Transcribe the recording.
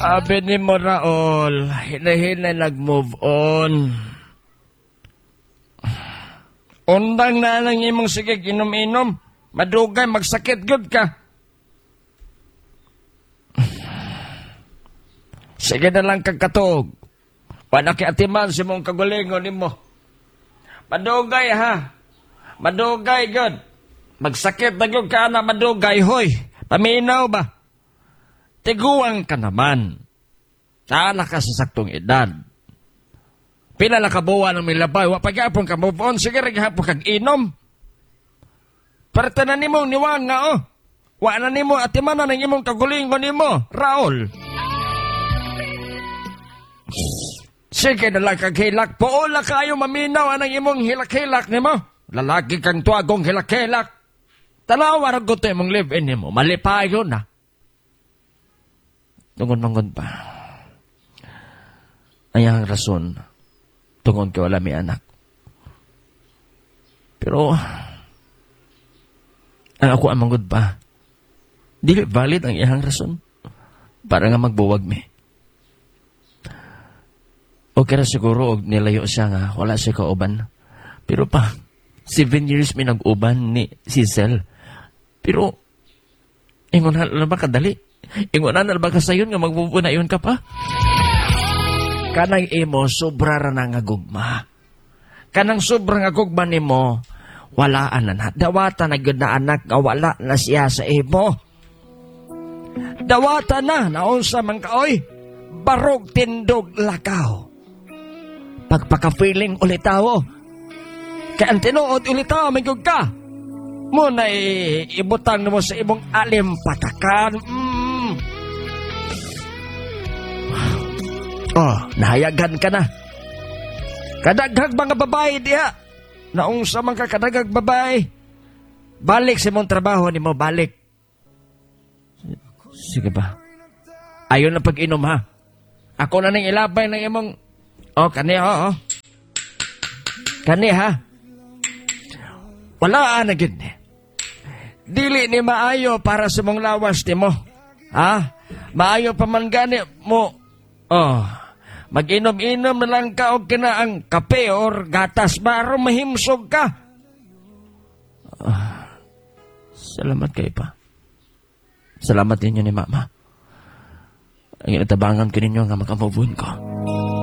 Abi ni mo, Raol, hinay-hinay nag-move on. Undang na lang imong sige inom-inom. Madugay, magsakit gud ka. Sige na lang kag katog. Wala kay atiman si mong kagulingon nimo. Madugay ha. Madugay gud. Magsakit na gud ka na madugay hoy. Paminaw ba? Tiguang ka naman. Taala ka sa saktong edad. Pila na kabuwan ang milabay. Wa pa gyapon ka move on. Sige rin gihapon kag inom. Parta na nimo niwang nga oh. Wa na nimo atimanan ang imong kagulingon nimo, Raol. Sige na lang kag hilak. Puola kayo maminaw anang imong hilak-hilak nimo. Lalaki kang tuagong hilak-hilak. Tanawa ra gud to imong live-in nimo. Malipayon na. Tungod-tungod pa. Ay ang rason. Tungod kay wala may anak. Pero, ang ako ang manggod pa, dili valid ang iyang rason. Para nga magbuwag mi. Okay ra siguro og nilayo siya nga wala siya kauban. Pero pa, 7 years mi nag-uban ni Cecil. Pero, ingon na ba kadali? Ingon na ba kasayon nga magbubuna yun ka pa? Kanang imo, sobra ra na nga gugma. Kanang sobra nga gugma nimo, wala na na. Dawata na gyud na anak nga wala na siya sa imo. Dawata na, naunsa man ka, oy. Barog tindog lakaw. Pagpaka-feeling ulit tao. Kaya ang tinuod ulit tao, may gug ka. Muna ibutang mo sa imong alimpatakan. Oh, nahayagan ka na. Kadaghag mga babae diha. Naungsa man ka kadaghag babae. Balik sa imong trabaho nimo, balik. Sige ba? Ayon na pag-inom ha. Ako na ning ilabay ng imong... Oh, kani oh, oh. Kani ha. Wala na gid ni. Dili ni maayo para sa mong lawas nimo. Ha? Maayo pa man gani mo. Oh, mag-inom-inom na lang ka og kina ang kape or gatas ba aron mahimsog ka. Oh, salamat kay pa. Salamat ninyo ni Mama. Ang inatabangan ko ninyo nga makamove on ko.